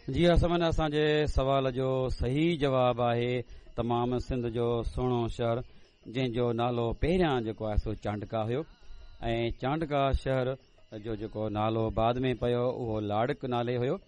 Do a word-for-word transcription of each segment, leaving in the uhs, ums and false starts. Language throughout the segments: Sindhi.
جي ها سامعين، اسان جي سوال جو صحيح جواب آهي تمام سنڌ جو سهڻو شهر، جنهن جو نالو پهريان جيڪو آهي سو چانڊڪا هيو ۽ چانڊڪا شهر جو جيڪو نالو بعد ۾ پيو اهو لاڙڪ نالي هيو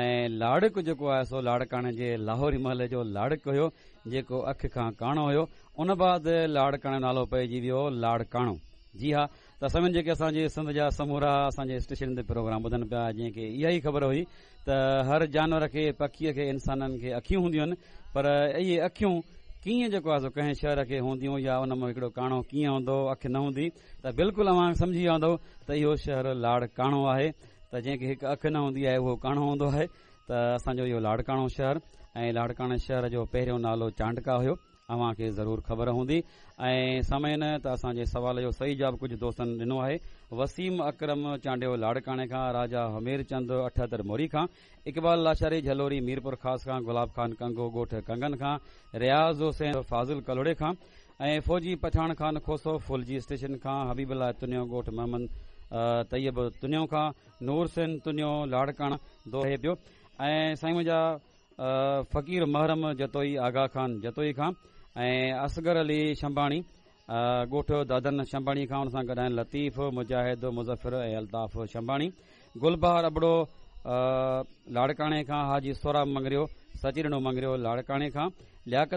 ۽ لاڙڪ جيڪو آهي سو لاڙڪاڻي جي لاهوري محلي جو لاڙڪ هيو، جيڪو اک کان ڪاڻو هيو. ان بعد لاڙڪاڻي نالو پئجي ويو لاڙڪاڻو. جي ها ته سامعين، جيڪي اسان جي سنڌ جا سمورا اسان جي اسٽيشن تي پروگرام ٻڌن پيا، جنهن کي اها ئي خبر هئي ته هر جانور کي، پکيء کي، انسانن کي اکيون هونديون آهن، پر اهي اکيون ڪيئن جيڪو آهي سو ڪنهن شهر کي هونديون يا ان مان هڪڙو ڪاڻو ڪيئن هوندو، اک نه هوندي، ته بلڪل اوهان سمجهي ويا هوندؤ ته اهو شهر لاڙڪاڻو آهي. ته جنهن کي هڪ اک نه هوندي آهي اهو ڪاڻو هوندو آهي. ته اسان جو اهو لاڙڪاڻو شهر ۽ لاڙڪاڻي شهر جو پهريون نالو چانڊڪا هيو، اوهان کي ضرور خبر هوندي. ۽ سامعين، ته اسان جي سوال جو صحيح جواب ڪجهه دوستن ڏنو آهي. وسيم اڪرم چانڊيو لاڙڪاڻي کان، راجا همير چند اٺهتر موري کان، اقبال لاشاري جهلوري ميرپور خاص کان، گلاب خان ڪنگو ڳوٺ ڪنگن کان، رياض حسين فاضل ڪلهوڙي کان ۽ فوجي پٺاڻ خان کوسو ڦلجي اسٽيشن کان، حبيب الله تنيو ڳوٺ محمد طيب تنيو کان، نور حسين تنيو لاڙڪاڻا دوهي پيو ۽ سائين منهنجا فقير محرم جتوئي آغا خان جتوئي کان ۽ اصغر علي شمباڻي ڳوٺ دادن شمباڻي کان، ان سان گڏ آهن لطيف، مجاهد، مظفر ۽ الطاف شمباڻي، گلبهار ابڙو لاڙڪاڻي کان، حاجي سهراب مڱريو، سچيڏنو مڱريو لاڙڪاڻي کان، لياقت